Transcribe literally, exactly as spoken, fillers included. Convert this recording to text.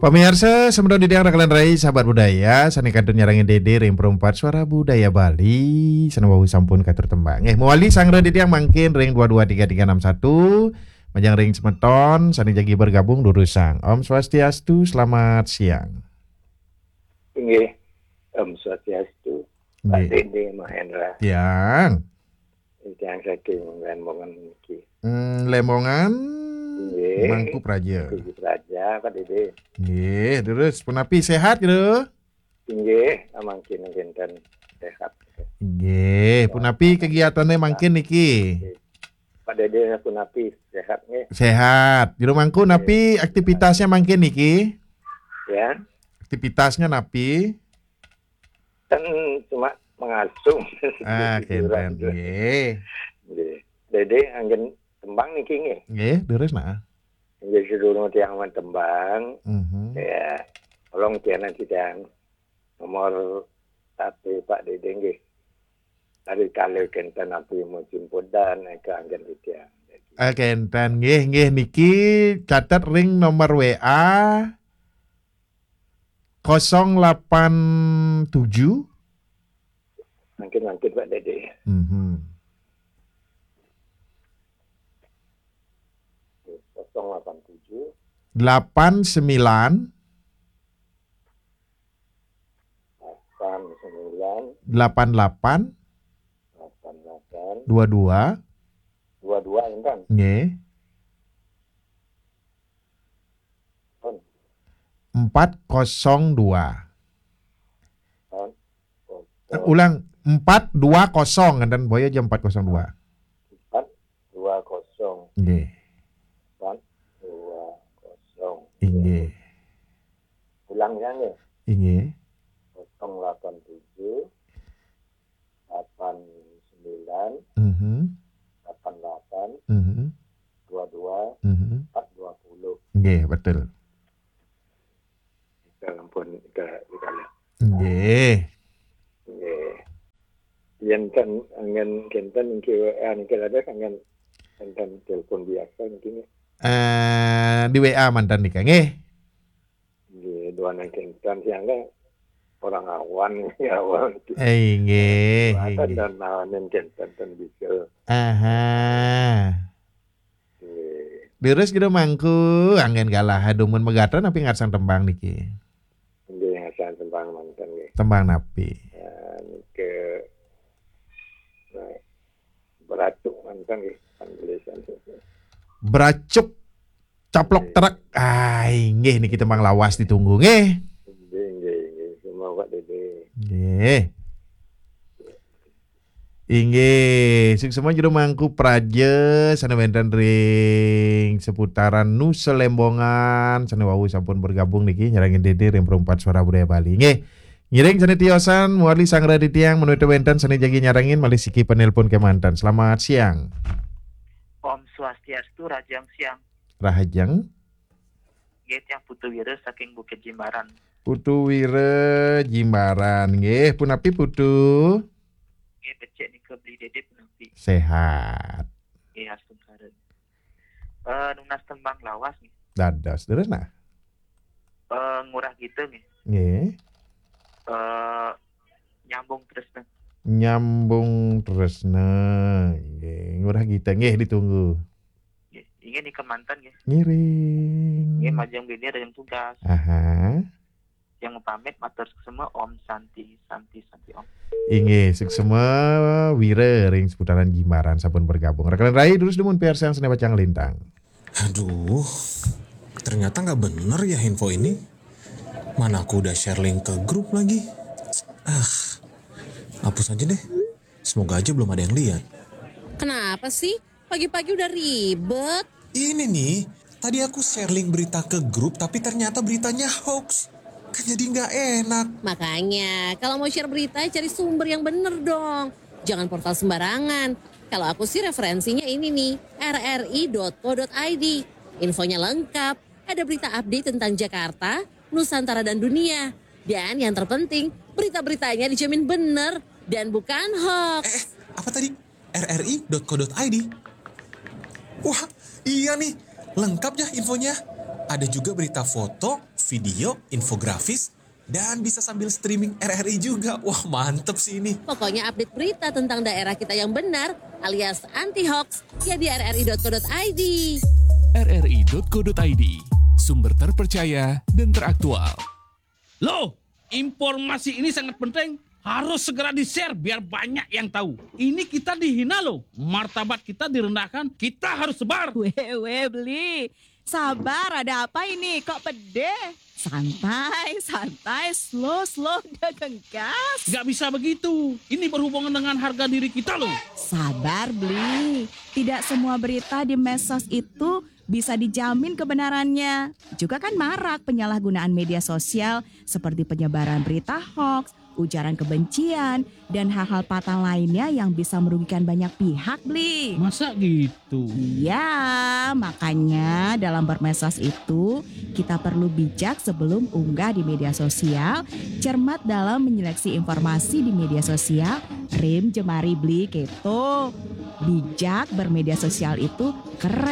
Pamiarsa, semeton titiang, rekan rai, sahabat budaya, sané kantun nyarengin Dédé ring Perumpat Suara Budaya Bali, sané wau sampun katur tembang. Nggih, mawali sanggra titiang mangkin ring dua dua tiga tiga enam satu, majeng ring semeton sané jagi bergabung durusang. Om Swastiastu, selamat siang. Inggih, Om Swastiastu. Pak Inggih. Dédé Mahendra. Tiang. Tiang saking Lembongan niki. Hmm, Lembongan, Inggih. Mangku Praja. Mangku Praja, Pak Dédé. Nggih, terus punapi, sehat gitu? Inggih, mangkin kinten sehat. Nggih, punapi kegiatannya mangkin niki? Inggih. Pak Dédé punapi sehat nggih? Sehat. Jero mangku napi aktivitasnya mangkin niki? Ya. Aktivitasnya napi? Kan cuma mengasuh. Ah, hiburan kénten, gitu. Nggih. Nggih. Dédé anggen tembang niki nggih? Nggih, durus nah. Nggih, sedurung tiang main tembang. Mhm. Ya, tolong tiang nanti tiang nomor H P Pak Dédé nggih. Ari kalih kénten napi musim podan, éka anggen titiang. Ah, kénten nggih, nggih niki catet ring nomor W A kosong delapan tujuh. Mangkin, mangkin Pak Dédé. Mhm. Kosong delapan tujuh. Delapan sembilan. Delapan sembilan. Delapan delapan. Delapan delapan. Dua dua. Dua dua, enten. Nggih. Pun. Empat kosong dua. Pun. Eh, ulang, empat dua kosong, enten boyo aja empat kosong dua. Empat dua kosong. Nggih. Empat dua kosong. Inggih. Ulang ya nggih. Inggih. Kosong delapan tujuh, delapan sembilan, Mhm. delapan delapan, Mhm. dua dua, Mhm. empat dua puluh. Nggih, betul. Kita ampun, kita, kita lihat. Nggih. Nggih. Yén kan anggen kénten niki W A niki ada anggen kénten telepon biasa niki nggih. Eh, di W A manten nika nggih. Nggih, duaning kénten siangga orang awan, awan. Eh, nggih, Duaning inggih. Dan nawanin kénten ten bisa. Aha. Nggih. Leres gitu mangku, anggen galah dumun megatan napi ngarsang tembang niki? Nggih, ngarsang tembang manten nggih. Tembang napi? Ya, niki, nah, Beracuk manten nggih, kan tulisan. Beracuk caplok truk. Ah, inggih niki tembang lawas ditunggu nggih. Nggih, nggih, nggih. Semua Pak Dédé. Nggih. Inggih, suksma jero mangku praja sané wénten ring seputaran Nusa Lembongan, sané wau sampun bergabung niki nyarengin Dédé ring Perumpat Suara Budaya Bali. Nggih. Ngiring sané tiosan, muarli sanggra titiang, menawi wénten sané jagi nyarengin malih siki penelpon kémanten. Selamat siang. Om Swastiastu, rahajeng siang. Rahajeng. Nggih, tiang Putu Wira saking Bukit Jimbaran. Putu Wira Jimbaran. Nggih, punapi Putu? Nggih, becik nika beli Dédé punapi? Sehat. Nggih, astungkara. Eh, nunas tembang lawas nggih. Dados, terus nah. Eh, Ngurah Gita nggih. Nggih. Eh, Nyambung Tresna. Nyambung Tresna. Nggih, Ngurah Gita nggih ditunggu. Nggih, inggih nika manten nggih. Ngiring. Nggih, majeng bini rajang tugas. Aha. Yang pamit matur suksma, Om Santi, Santi, Santi Om. Inggih, suksma Wira ring seputaran Jimbaran sampun bergabung. Rekan rai terus dumun piarsang sané pacang lintang. Aduh, ternyata nggak bener ya info ini. Mana aku udah share link ke grup lagi. Ah, hapus aja deh. Semoga aja belum ada yang lihat. Kenapa sih? Pagi-pagi udah ribet. Ini nih, tadi aku share link berita ke grup, tapi ternyata beritanya hoax. Kan jadi nggak enak. Makanya, kalau mau share berita, cari sumber yang bener dong. Jangan portal sembarangan. Kalau aku sih referensinya ini nih, R R I dot co dot I D. Infonya lengkap, ada berita update tentang Jakarta, Nusantara dan dunia. Dan yang terpenting, berita-beritanya dijamin bener dan bukan hoax. Eh, eh, apa tadi? R R I dot co dot I D. Wah, iya nih, lengkap ya infonya. Ada juga berita foto, video, infografis, dan bisa sambil streaming R R I juga. Wah, mantep sih ini. Pokoknya update berita tentang daerah kita yang benar alias anti hoax ya di rri.co.id. rri.co.id, sumber terpercaya dan teraktual. Loh, informasi ini sangat penting. Harus segera di-share biar banyak yang tahu. Ini kita dihina loh. Martabat kita direndahkan. Kita harus sebar. Weh, weh, Bli. Sabar, ada apa ini? Kok pede? Santai, santai, slow, slow, udah gas. Gak bisa begitu. Ini berhubungan dengan harga diri kita loh. Sabar, Bli. Tidak semua berita di medsos itu bisa dijamin kebenarannya. Juga kan marak penyalahgunaan media sosial seperti penyebaran berita hoax, ujaran kebencian, dan hal-hal fatal lainnya yang bisa merugikan banyak pihak, Bli. Masa gitu? Iya, makanya dalam bermedsos itu kita perlu bijak sebelum unggah di media sosial, cermat dalam menyeleksi informasi di media sosial, rim jemari Bli keto. Bijak bermedia sosial itu keren.